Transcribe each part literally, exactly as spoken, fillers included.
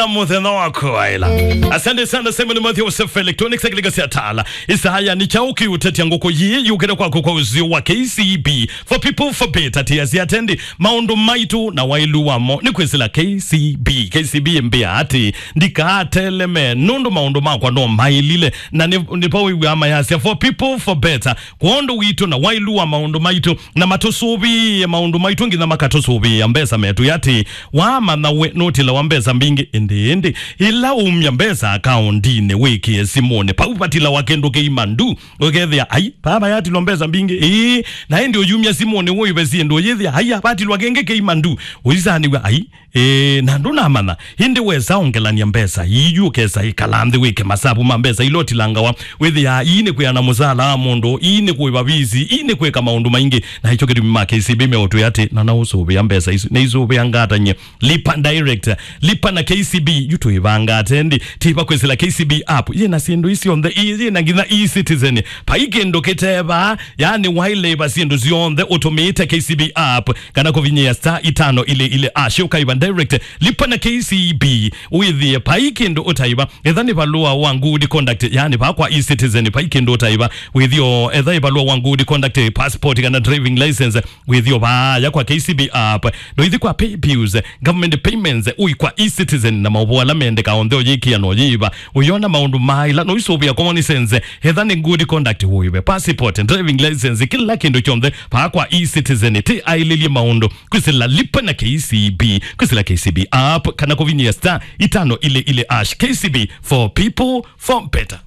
Mũthenya waku wa ĩla. Asante sana Simon Matthew Self Electronics, akilika sya tala. Isaya ni chao kiutetia ngoko yi yukire kwako kwa uzio wa K C B. For people, for better, tia sya tendi. Maũndũ maitũ na wailu wamo ni kwĩsĩla K C B. K C B mbĩa ati, ndikateleme, nũndũ maũndũ makwa no mailile. Na ni, ni pa wĩw'a mayasya, for people, for better. Kwondũ witũ na wailu wa maũndũ maitũ, na matũsũvĩĩe maũndũ maitũ nginya makatũsũvĩĩa mbesa metũ. Ati, wamanya we nũtilawa mbesa mbingĩ, ĩndĩ, ĩndĩ, ĩla umya mbesa akaũndinĩ wĩkĩe simũnĩ, pau vatilawa kĩndũ kĩima ndu, ũkethĩa, ai, vava yatilwa mbesa mbingĩ, ĩĩ, na ĩndĩ ũyumya simũnĩ wĩve syĩndũ, ũyĩthĩa, ai, vatilwa kĩngĩ kĩima ndu, ũisanĩw'a, ai, Ĩĩ, na ndũnamanya, ĩndĩ wesa ongelany'a mbesa ii, yu ũkesa ĩkala nthĩ wĩke masavu ma mbesa ila ũtilangawa, wĩthĩaa ii nĩ kwĩana mũsala wa mũndũ, ii nĩ kũĩva visi, ii nĩ kwĩka maũndũ maingĩ, na ĩkyo kĩtumi ma K C B meũtwĩa atĩ, na naũsũvĩa mbesa isu, nĩisũvĩangatany'e. Lipa direct, lipa na K C B, yu tũĩvangate ndi, tĩva kwĩsĩla K C B app, yĩ na syĩndũ ii syonthe, ii yĩ na nginya e-citizen, vai kĩndũ kĩtevaa, yani wailĩva syĩndũ syonthe ũtũmĩĩte K C B app, kana kũvinyĩa star itano ile ile ash, ũkaiva direct, lipa na K C B, wĩthĩe vai kĩndũ ũtaiva. Etha nĩ valũa wa good conduct, yani va kwa e-citizen, vai kĩndũ ũtaiva, wĩthĩo, etha nĩ valũa wa good conduct, passport kana driving license, wĩthĩo vaya kwa K C B app, ndũithi kwa pay bills, government payments, ũi kwa e-citizen na maũvoo ala mendeka onthe ũyĩkĩa no yĩva, ũyona maũndũ maila no isũvĩa common sense, etha nĩ good conduct, ũive passport, driving license, kĩla kĩndũ kyonthe, vaa kwa e-citizen, ti ailĩlye maũndũ, kwĩsĩla lipa na K C B, kwĩsĩla K C B app, kana kũvinyĩa star itano ile ile ash. K C B, for people, for better.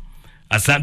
Asante.